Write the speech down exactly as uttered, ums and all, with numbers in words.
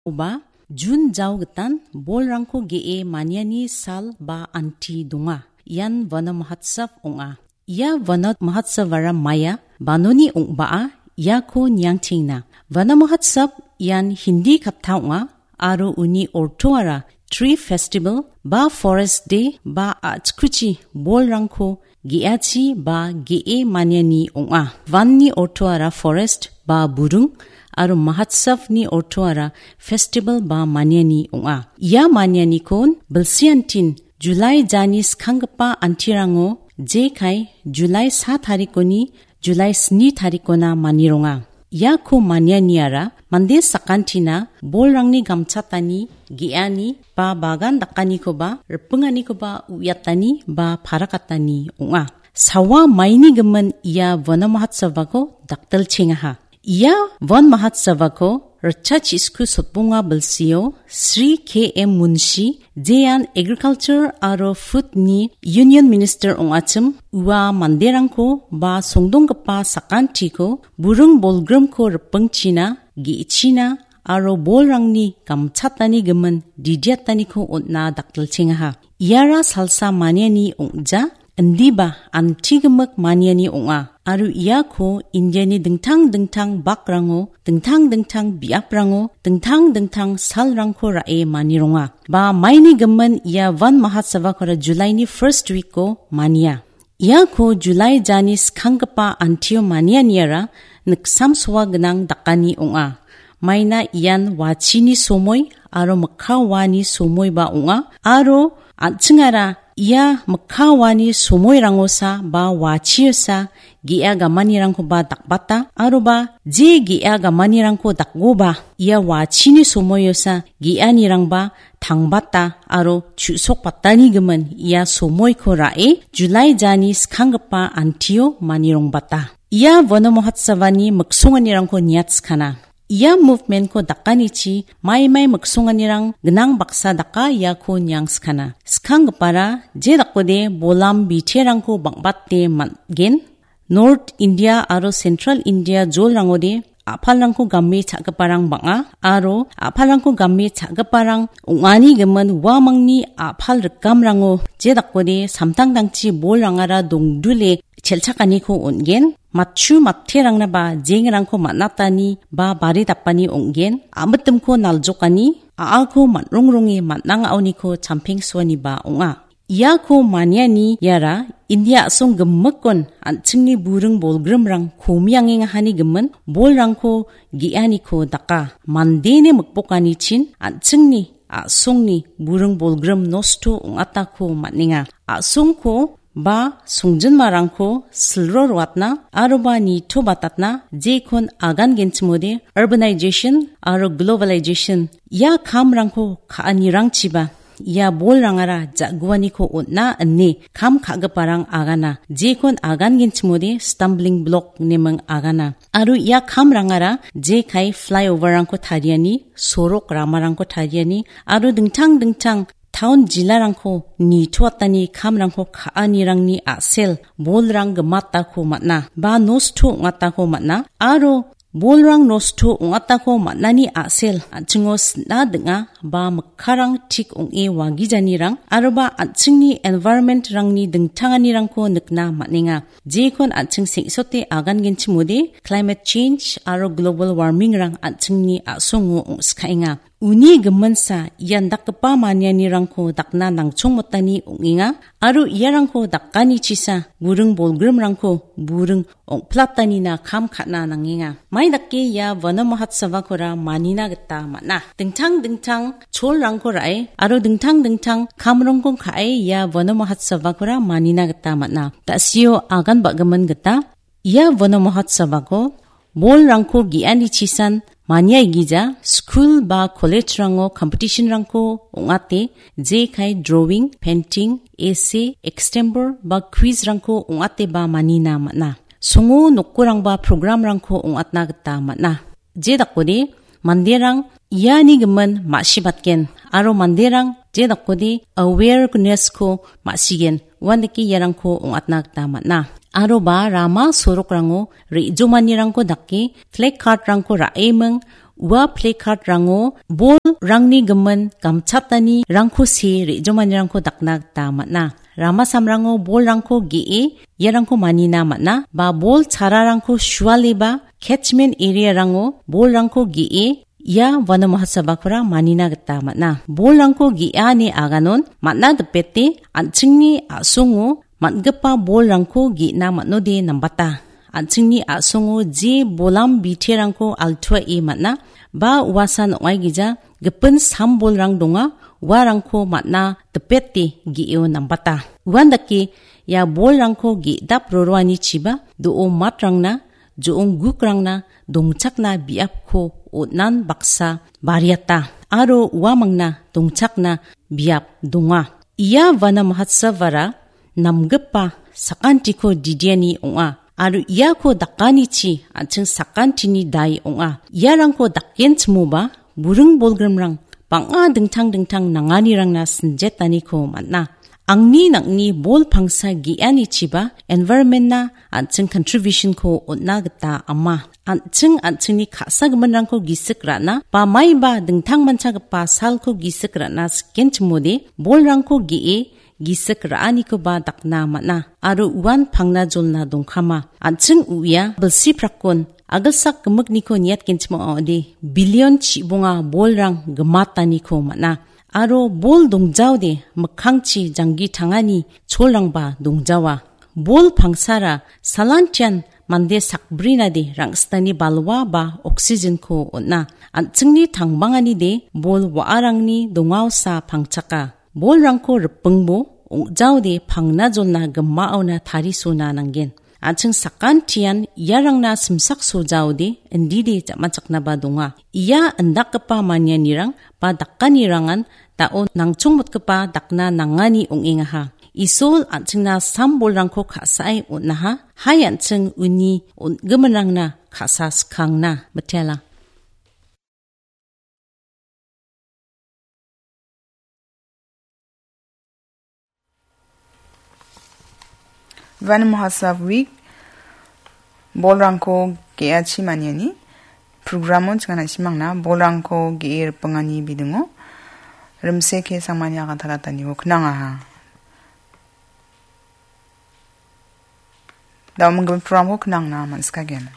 Oba, Jun jao gitan bolrangko ge·e maniani sal ba anti donga. Ian Vana Mahotsav ong·a. Ia Vana Mahotsavara maia banoni ong·baa iako niangchengna. Vana Mahotsav ian Hindi katta ong·a aro uni ortoara Tree Festival ba Forest Day ba a·chikuchi bolrangko ge·achi ba ge·e maniani ong·a. Vanni ortoara forest ba burung aro Mahotsavni ortoara festival ba maniani ong·a. Ia manianikon bilsiantin Julai jani skanggipa antirango jekai Julai sa tarikoni Julai sni tarikona manironga. Iako manianiara mande sakantina bolrangni gamchatani, ge·ani ba bagan dakanikoba ripinganikoba uiatani ba parakatani ong·a. Sawa maini gimin ia Vana Mahotsavako dakdilchengaha. Ia Van Mahotsavako ritcha chisku sotbonga bilsio Sri K M Munshi, jean Agriculture aro Food ni Union Minister ong·achim, ua manderangko ba songdonggipa sakantiko buring bolgrimko ripingchina, ge·china aro bolrangni gamchatani gimin didiataniko on·na dakdilchengaha. Iara salsa maniani ong·ja, indiba antigimik maniani ong·a, aro iako Indiani dingtang dingtang bakrango, dingtang dingtang biaprango, dingtang dingtang salrangko ra·e manironga. Ba maini gimin ia Van Mahotsavakora Julaini first week-o mania. Iako Julai jani skanggipa antio manianiara niksamsoa gnang dakani ong·a. Maina ian wachini somoi aro mikka wani somoiba ong·a, aro an·chingara ia mikka wani somoirangosa ba wachiosa ge·a gamanirangkoba dakbata, aroba je ge·a gamanirangko dakgoba ia wachini somoiosa ge·anirangba tangbata aro chu·sokbatani gimin ia somoiko ra·e Julai jani skanggipa antio manirongbata. Ia Vana Mahotsavani miksonganirangko niatskana. Ia movement-ko dakanichi maimai miksonganirang gnang baksa daka iako niangskana. Skanggipara je dakode bolam biterangko bang·bate man·gen. North India aro Central India jolrangode a·palrangko game cha·giparang bang·a aro a·palrangko game cha·giparang ong·ani gimin uamangni a·pal rikamrango je dakode samtangtangchi bolrangara dongdule chelchakaniko on·gen. Matchu matterangnaba jengrangko man·atani ba bari dapani ong·gen. Amitimko naljokani, a·ako man·rongronge man·ang a·oniko champengsoaniba ong·a. Iako maniani iara India a·song gimikkon an·chingni buring bolgrimrang komiangengahani gimin bolrangko ge·aniko daka. Mandeni mikbokanichin an·chingni a·songni buring bolgrim nosto ong·atako man·enga. A·songko ba songjinmarangko silro roatna aroba nitobatatna jekon agangenchimode urbanization aro globalization ia kamrangko ka·anirangchiba ia bolrangara ja·guaniko on·a ine kam ka·giparang agana. Jekon agangenchimode stumbling block neming agana. Aro ia kamrangara jekai flyover-rangko tariani, sorok ramarangko tariani, aro dingtang dingtang taon jilarangko nitoatani kamrangko ka·anirangni a·sel bolrang gimatako man·a, ba nosto ong·atako man·a, aro bolrang nosto ong·atako man·ani a·sel an·chingo sin·a ding·a ba mikkarang tik ong·e wagijanirang aroba an·chingni environment-rangni dingtanganirangko nikna man·enga. Jekon an·ching seng·sote agangenchimode climate change aro global warming-rang an·chingni a·songo ong·skaenga. Uni giminsa ian dakgipa manianirangko dakna nangchongmotani ong·enga, aro iarangko dakanichisa buring bolgrimrangko buring ong·platanina kam ka·na nangenga. Mai dake ia Vana Mahotsavakora manina gita man·a. Dingtang dingtang cholrangko ra·e aro dingtang dingtang kamrongko ka·e ia Vana Mahotsavakora manina gita man·a. Da·sio agan ba·gimin gita ia Vana Mahotsavako bolrangko ge·ani chisan maniaigija skul ba college-rango competition-rangko ong·ate jekai drawing, painting, essay, extempore ba quiz-rangko ong·ateba manina man·a. Songo nokorangba program-rangko ong·atna gita man·a. Je dakode manderang iani gimin ma·sibatgen aro manderang je dakode awareness-ko ma·sigen, uandake iarangko ong·atna gita man·a. Aroba rama sorokrango re·jomanirangko dake flag card-rangko ra·eming ua placard-rango bolrangni gimin gamchatani rangko see re·jomanirangko dakna gita man·a. Rama samrango bolrangko ge·e iarangko manina man·a, ba bol chararangko sualeba catchment area-rango bolrangko ge·e ia Vana Mahotsavakora manina gita man·a. Bolrangko ge·ani aganon man·a dipete an·chingni a·songo man·gipa bolrangko ge·na man·ode nambata. An·chingni a·songo je bolam biterangko altuae man·a, ba uasan ong·aigija gipin sam bolrang donga, uarangko man·a dipete ge·o nambata. Uandake ia bolrangko ge·dap roroanichiba do·o matrangna, jo·ong gukrangna dongchakna biapko on·an baksa bariata, aro uamangna dongchakna biap donga. Ia Vana Mahotsavara namgipa sakantiko didiani ong·a, aro iako dakanichi an·ching sakantini dai ong·a. Iarangko dakenchimoba buring bolgrimrang bang·a dingtang dingtang nanganirangna sinjetaniko man·a. Angni nang·ni bol pangsa ge·anichiba environment-na an·ching contribution-ko on·na gita ama. An·ching an·chingni ka·sagiminrangko gisik ra·na ba maiba dingtang manchagipa salko gisik ra·na sikenchimode bolrangko ge·e gisik ra·anikoba dakna man·a, aro uan pangna jolna dongkama. An·ching uia bilsi prakon agilsak gimikniko niatgenchim ong·ode, billion chibonga bolrang gimataniko man·a, aro bol dongjaode mikkangchi janggi tangani cholrangba dongjawa. Bol pangsara salantian mande sakbrinade rang·sitani balwa ba oxygen-ko on·a. An·chingni tangbanganide bol wa·arangni dongaosa pangchaka. Bolrangko ripingbo ong·jaode pangna jolna gimaona tarisona nanggen. An·ching sakantian iarangna simsak sojaode indide ja·machaknaba donga. Ia indakgipa manianirang ba dakanirangan da·o nangchongmotgipa dakna nangani ong·engaha. Isol an·chingna sam bolrangko ka·sae on·aha, hai an·ching uni on·giminrangna ka·sa skangna mitela. Van Mahotsav Week, bolrangko ge·achi maniani programo chingana simangna bolrangko ge·e ripingani bidingo rimseke sangmani agantalataniko knangaha. Dauminggipa programko knangna man·sikagen.